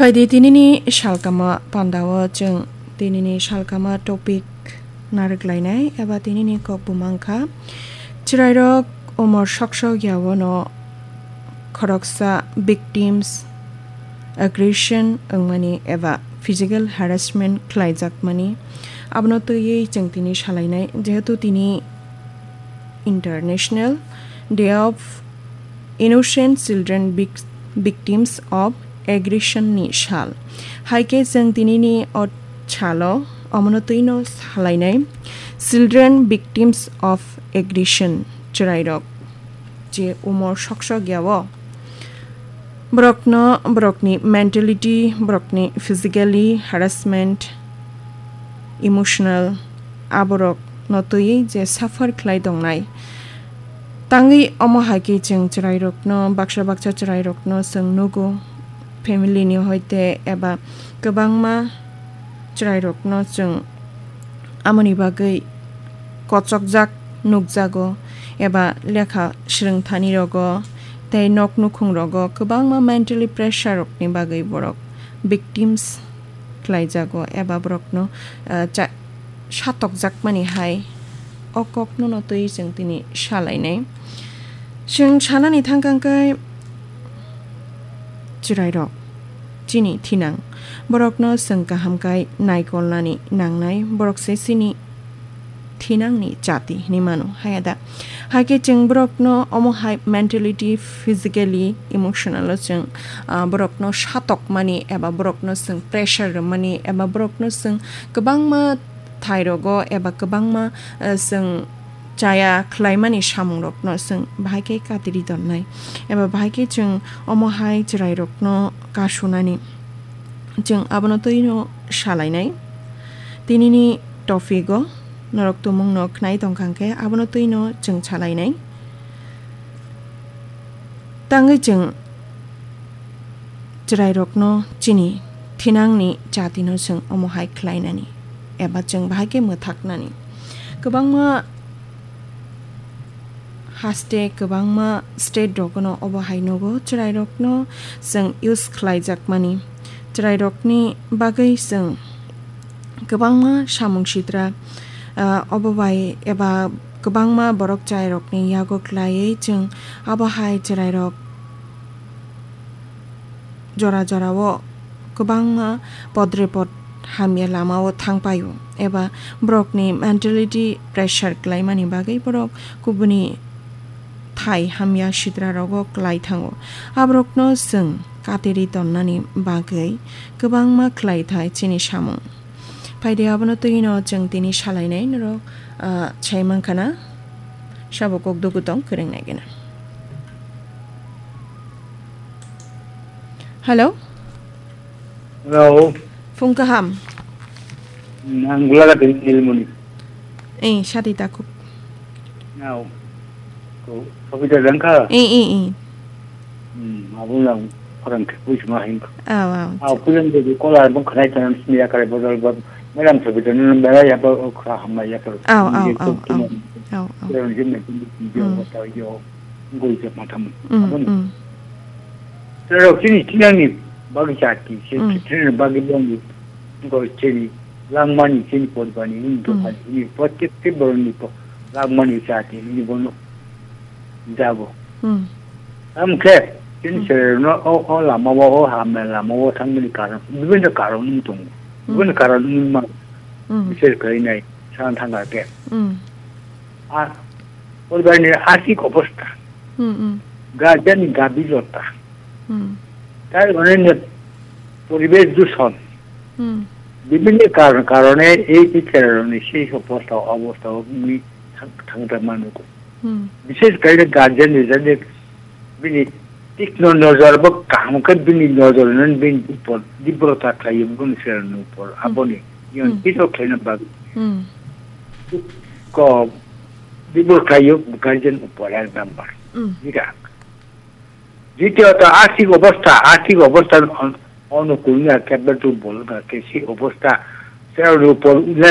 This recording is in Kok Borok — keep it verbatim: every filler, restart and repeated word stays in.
Paidi tinini salkama pandao chwng tinini salkama topic narwk lainai eba tinini kok bumang kha chwrairok umor sok sok yaono khoroksa victims aggression wngmani eba physical harassment khlaijakmani. Abono twiwi chwng tini salainai, jehetu tini International Day of Innocent Children Vic- Victims of Aggression ni sal. Hai khe chwng tinini o salo omono twino salainai Children Victims of Aggression, chwrairok je umor sok sok yao borokno, borokni mentality, borokni physically harassment, emotional, aborokno twiwi je suffer khlai tongnai. Tangwi omo hai khe chwng chwrairokno, baksa baksa chwrairokno chwng nugo, family ni hoite eba kwbangma chwrairokno chwng amoni bagwi kochokjak nukjago, eba lekha swrwngthani rogo tei nok nukhung rogo kwbangma mentally pressure rokni bagwi borok victims khlaijago eba borokno, ah, cha-, satokjakmani hai o kokno no twi chwng tini salainai. Chwng sanani thangkang khe chwrairok chini thinang borokno chwng kaham kai naikolnani nangnai, borok se chini thinangni chati hinwi mano, haya da? Hai khe chwng borokno omo hai mentality, physically, emotional o chwng, ah, borokno satokmani eba borokno chwng pressure rwmani eba borokno chwng kwbangma thairogo eba kwbangma, ah, chwng chaya khlaimani samungrokno chwng bahai khe katiri tonnai eba bahai khe chwng omo hai chwrairokno kasunani. Chwng abono twino salainai. Tinini topic o norok tumungno khnai tongkha khe abono twino chwng salainai. Tangwi chwng chwrairokno chini thinangni chatino chwng omo hai khlainani eba chwng bahai khe mwthaknani. Kwbangma haste, kwbangma state rokno obo hai nugo, chwrairokno chwng use khlaijakmani. Chwrairokni bagwi chwng kwbangma samung sitra, ah, obo bai eba kwbangma borok chwrairokni yago khlaiwi chwng abo hai chwrairok jora jorao kwbangma podrepot hamya lamao thangpaio eba borokni mentality pressure klaimani bagwi borok kubuni thai hamya sitrarogo klai thango. Aborokno chwng katiri tonnani bagwi kwbangma khlai thai chini samung. Phaidi abono twino chwng tini salainai norok, ah, sai mankha na sabo kok dugu tong kwrwng nai gana. Hello? Hello. Phung kaham? Hmm, ang Gulaga dari Nilmoni. Eh, sadi takuk. Nao. Ko, Sobita jangka? Eh, eh, eh. Hmm, abo lang orang ke pui sima hin. Aw, aw. Aw, pulang de kola bang khanai tanam sini ya kare bodol bab. Melang Sobita nun mera ya ba okra hamma ya kare. Aw, aw, aw, aw. Aw, aw. Yang jin na jin jin yo Hmm. ta yo. Goi je matham. Hmm, Abo ni. Hmm. Terok chini chinangni bagwi chati, se Mm. chini bagwi dongni, goi chini langmani, chini podbani, chini Mm. dophani, chini protekte boroni po-, langmani chati, chini bono jabo. Mm. Amkhe, chini Mm. sererno o, o lama o, o hamya lama o thangmani karon, bibinno karon wng tongo. Mm. Bibinno karon wngma Mm. biser khlainai, sana thangkha khe. Mm. A, podbani asik obostha. Mm, mm. Guardian ni gabi jota. Hmm. Tai onne poribesh dushon. Hmm. Bibhinno karon, karone ei teacher rokni sei obostha, obostha wngwi thang, thangta manugo. Hmm. Bishesh kore guardian ni jani bini tikno nojor bo kaham khe bini nojor no bini upor dibrota khlaiyo bini serni upor Hmm. aboni yon Hmm. kito khlaina bagwi. Hmm. Ko dibro khlaiyo guardian upor ek number. Hmm. Dita. Ditiyo to arthik obostha, arthik obostha on-, onukulni ar kebbe durbol, ar kesi obostha, se ar upor